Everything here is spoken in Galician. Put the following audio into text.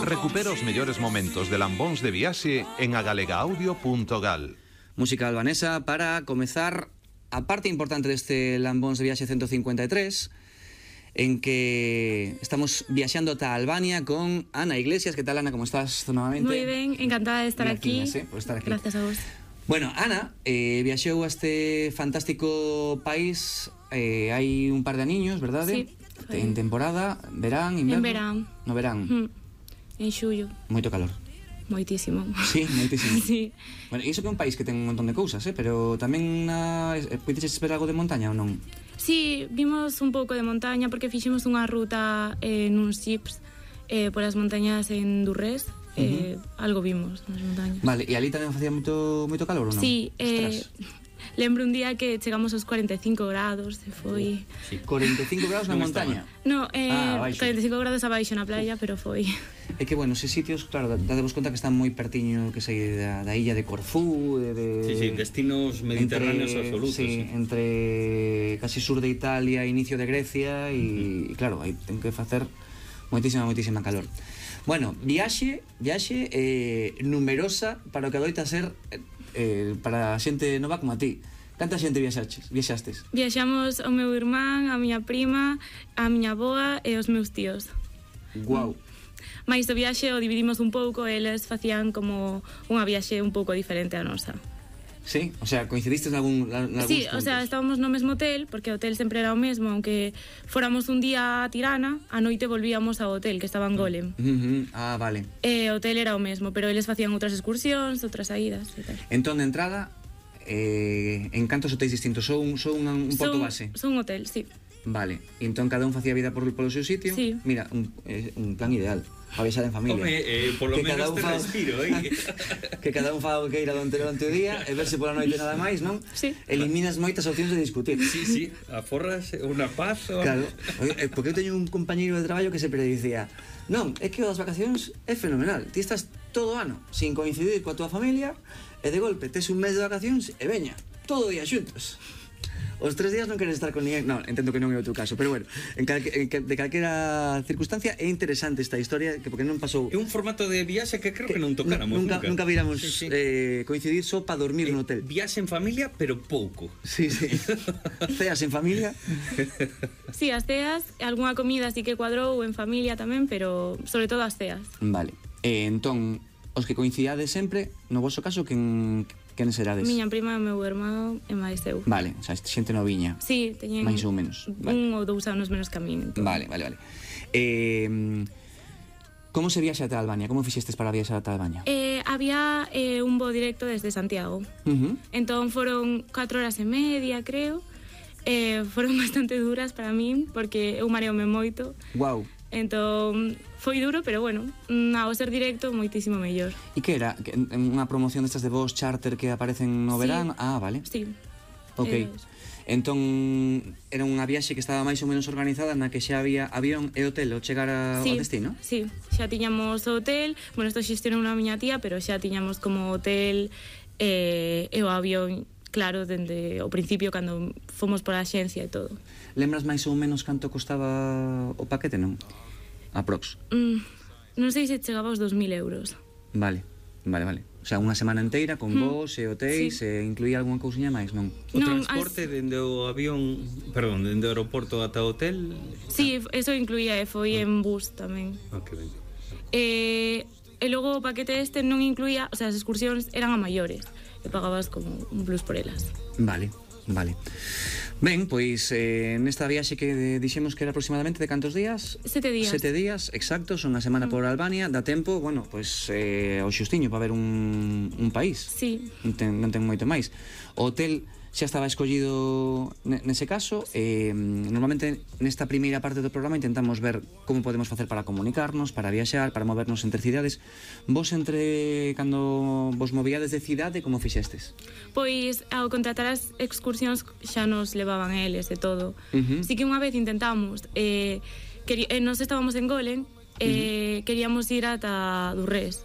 Recupera os mellores momentos de lambóns de viaxe en agalegaudio.gal. Música albanesa para comezar a parte importante deste lambóns de viaxe 153, en que estamos viaxando ata Albania con Ana Iglesias. Que tal, Ana? Como estás novamente? Moi ben, encantada de estar aquí. Por estar aquí. Gracias a vos. Bueno, Ana viaxou a este fantástico país hai un par de aniños, verdade? Sí. En temporada, verán, inverno? En verán. No verán. En xullo. Moito calor. Moitísimo. Sí, moitísimo. Sí. Bueno, iso que é un país que ten un montón de cousas, pero tamén puideches esperar algo de montaña ou non? Sí, vimos un pouco de montaña porque fixemos unha ruta nuns jeeps polas montañas en Durrés. Algo vimos nas montañas. Vale, e ali tamén facía moito calor ou non? Sí, lembro un día que chegamos aos 45 grados e foi... Sí. 45 grados na montaña? No, 45 grados abaixo na playa, pero foi... É que, bueno, eses sitios, claro, dadevos conta que están moi pertiño, que sei, da illa de Corfú, Sí, destinos mediterráneos absolutos. Sí, entre casi sur de Italia, inicio de Grecia, e claro, aí ten que facer moitísima calor. Bueno, viaxe numerosa para o que adoita ser para a xente nova como a ti. Canta xente viaxastes? Viaxamos o meu irmán, a miña prima, a miña avoa e os meus tíos. Guau. Mais o viaxe o dividimos un pouco, eles facían como unha viaxe un pouco diferente a nosa. Sí? O sea, coincidistes nalgún Sí, puntos? o sea, estábamos no mesmo hotel, porque o hotel sempre era o mesmo, aunque fóramos un día a Tirana, a noite volvíamos ao hotel, que estaba en Golem. Ah, vale. E o hotel era o mesmo, pero eles facían outras excursións, outras saídas e tal. Entón, de entrada, en cantos hotéis distintos? Son un porto base? Son un hotel, sí. Vale, e entón cada un facía vida polo seu sitio? Sí. Mira, un plan ideal para viaxar en familia. Home, polo menos te respiro, Que cada un faga o que queira durante o día e verse pola noite nada máis, non? Sí. Eliminas moitas opcións de discutir. Sí, aforras unha paz. Claro, porque eu teño un compañeiro de traballo que sempre dicía: non, é que o das vacacións é fenomenal, ti estás todo o ano sin coincidir coa tua familia e de golpe tes un mes de vacacións e veña, todo o día xuntos. Os 3 días non queres estar con ninguén. Non, entendo que non é o teu caso, pero bueno, de calquera circunstancia é interesante esta historia, porque non pasou. É un formato de viaxe que creo que non tocáramos nunca viramos coincidir só para dormir no hotel. Viaxe en familia, pero pouco. Sí. Ceas en familia? Sí, as ceas, algunha comida así que cuadrou en familia tamén, pero sobre todo as ceas. Vale, entón, os que coincidades sempre, no vosso caso, quen serades? Miña prima, o meu irmão e máis eu. Vale, o sea, xente noviña. Sí, teñen máis ou menos. Un ou 2 anos menos que a min. Entón. Vale. Como se viaxa ata Albania? Como fixestes para viaxar ata Albania? Había un voo directo desde Santiago. Entón foron 4 horas e media, creo. Foron bastante duras para min, porque eu mareome moito. Guau. Entón foi duro, pero bueno, ao ser directo moitísimo mellor. E que era? Unha promoción destas de voos charter que aparecen no verán? Ah, vale. Sí. Ok. Entón era unha viaxe que estaba máis ou menos organizada, na que xa había avión e hotel ao chegar ao destino? Sí, xa tiñamos o hotel. Bueno, isto xestionou unha miña tía, pero xa tiñamos como hotel e o avión, claro, dende o principio cando fomos por a axencia e todo. Lembras máis ou menos canto costaba o paquete, non? Aprox. Non sei se chegaba aos 2.000 euros. Vale. O sea, unha semana inteira con vos e hotéis, e incluía algunha cousiña máis, non? O transporte dende o avión, perdón, dende o aeroporto ata o hotel? Sí, eso incluía, e foi en bus tamén. Que ben. E logo o paquete este non incluía, o sea, as excursións eran a maiores, e pagabas como un plus por elas. Vale. Ben, pois nesta viaxe que dixemos que era aproximadamente de cantos días? 7 días. 7 días, exactos, unha semana por Albania. Dá tempo, bueno, pois ao xustiño para ver un país. Sí. Non ten moito máis. O hotel xa estaba escollido nese caso. Normalmente nesta primeira parte do programa intentamos ver como podemos facer para comunicarnos, para viaxar, para movernos entre cidades. Vos cando vos movíades de cidade, como fixestes? Pois ao contratar as excursións xa nos levaban eles e todo. Así que unha vez intentamos, nos estábamos en Golem, queríamos ir ata Durrés.